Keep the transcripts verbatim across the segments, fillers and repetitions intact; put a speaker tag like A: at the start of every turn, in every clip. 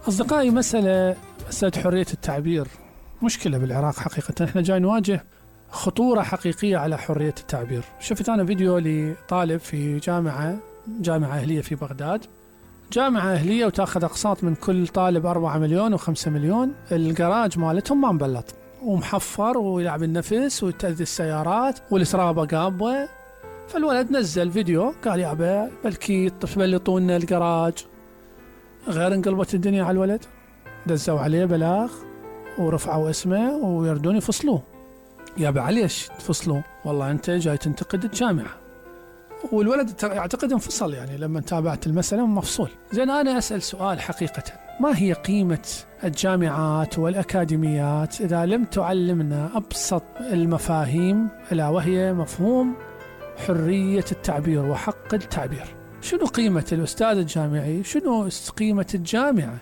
A: أصدقائي، مسألة مسألة حرية التعبير مشكلة بالعراق حقيقة. احنا جاي نواجه خطورة حقيقية على حرية التعبير. شفت أنا فيديو لطالب في جامعة جامعة أهلية في بغداد، جامعة أهلية وتاخذ أقساط من كل طالب أربعة مليون وخمسة مليون. الجراج مالتهم ما مبلط ومحفر ويلعب النفس وتأذي السيارات والسرابة قابة. فالولد نزل فيديو قال يابا بلكي تبلطون الجراج. غير انقلبت الدنيا على الولد، دزوا عليه بلاغ ورفعوا اسمه ويردون يفصلوه. يابا عليش تفصلوه؟ والله أنت جاي تنتقد الجامعة. والولد يعتقد انفصل، يعني لما تابعت المسألة مفصول. زين أنا أسأل سؤال حقيقة، ما هي قيمة الجامعات والأكاديميات إذا لم تعلمنا أبسط المفاهيم، ألا وهي مفهوم حرية التعبير وحق التعبير؟ شنو قيمة الأستاذ الجامعي؟ شنو قيمة الجامعة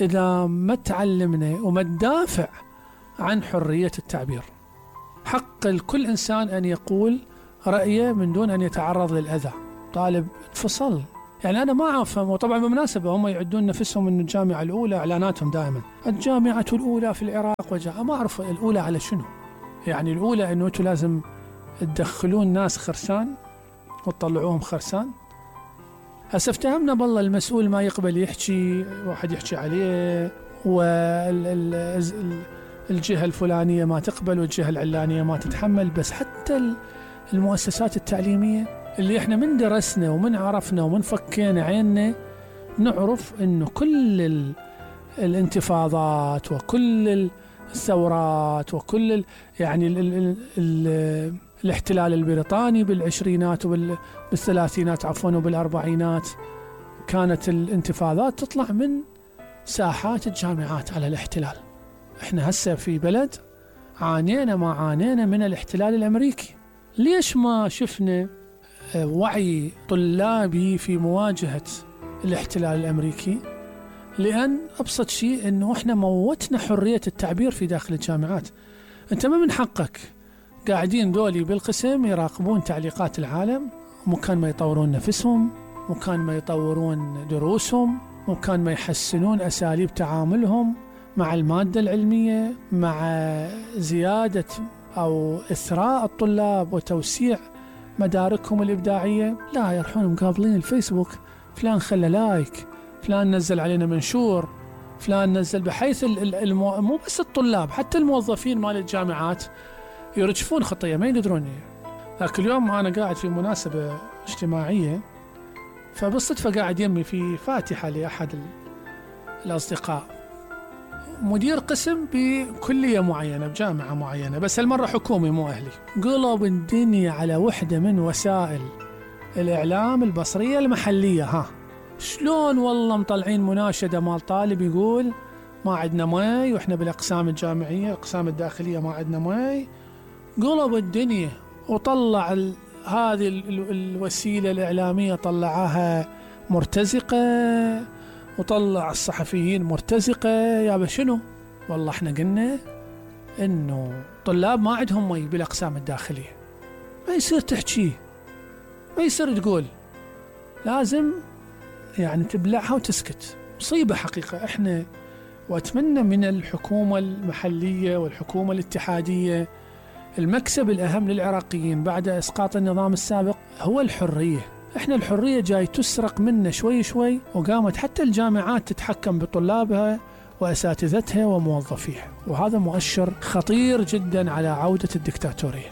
A: إذا ما تعلمنا وما ندافع عن حرية التعبير؟ حق الكل إنسان أن يقول رأيه من دون أن يتعرض للأذى. طالب انفصل، يعني أنا ما أفهم. وطبعا بالمناسبة هم يعدون نفسهم أن الجامعة الأولى، إعلاناتهم دائما الجامعة الأولى في العراق وجاء. ما أعرف الأولى على شنو، يعني الأولى أنه أنتم لازم تدخلون ناس خرسان وتطلعوهم خرسان. هسه افتهمنا بالله المسؤول ما يقبل يحكي، واحد يحكي عليه، والجهة الفلانية ما تقبل والجهة العلانية ما تتحمل. بس حتى المؤسسات التعليمية اللي احنا من درسنا ومن عرفنا ومن فكينا عيننا نعرف انه كل ال الانتفاضات وكل الثورات وكل ال يعني ال ال ال الاحتلال البريطاني بالعشرينات وبالثلاثينات عفوا وبالأربعينات، كانت الانتفاضات تطلع من ساحات الجامعات على الاحتلال. احنا هسه في بلد عانينا ما عانينا من الاحتلال الأمريكي. ليش ما شفنا وعي طلابي في مواجهة الاحتلال الأمريكي؟ لأن أبسط شيء أنه إحنا موتنا حرية التعبير في داخل الجامعات. أنت ما من حقك قاعدين دولي بالقسم يراقبون تعليقات العالم، مكان ما يطورون نفسهم، مكان ما يطورون دروسهم، مكان ما يحسنون أساليب تعاملهم مع المادة العلمية، مع زيادة أو إثراء الطلاب وتوسيع مداركهم الإبداعية. لا، يروحون مقابلين الفيسبوك، فلان خلى لايك، فلان نزل علينا منشور، فلان نزل، بحيث المو... مو بس الطلاب، حتى الموظفين مال الجامعات يرجفون خطية ما يقدرون. ذاك اليوم أنا قاعد في مناسبة اجتماعية، فبالصدفة قاعد يمي في فاتحة لأحد الأصدقاء، مدير قسم بكلية معينة بجامعة معينة، بس هالمرة حكومي مو أهلي. قلب الدنيا على وحدة من وسائل الإعلام البصرية المحلية. ها شلون والله مطلعين مناشدة مال طالب يقول ما عندنا ماي، وإحنا بالأقسام الجامعية الأقسام الداخلية ما عندنا ماي. قلب الدنيا وطلع ال... هذه ال... الوسيلة الإعلامية طلعها مرتزقة، وطلع الصحفيين مرتزقة. يا شنو؟ والله احنا قلنا انه طلاب ما عندهم مي بالاقسام الداخلية. ما يصير تحكي، ما يصير تقول، لازم يعني تبلعها وتسكت. مصيبة حقيقة. احنا واتمنى من الحكومة المحلية والحكومة الاتحادية، المكسب الأهم للعراقيين بعد إسقاط النظام السابق هو الحرية. احنا الحرية جاي تسرق منا شوي شوي، وقامت حتى الجامعات تتحكم بطلابها وأساتذتها وموظفيها، وهذا مؤشر خطير جدا على عودة الدكتاتورية.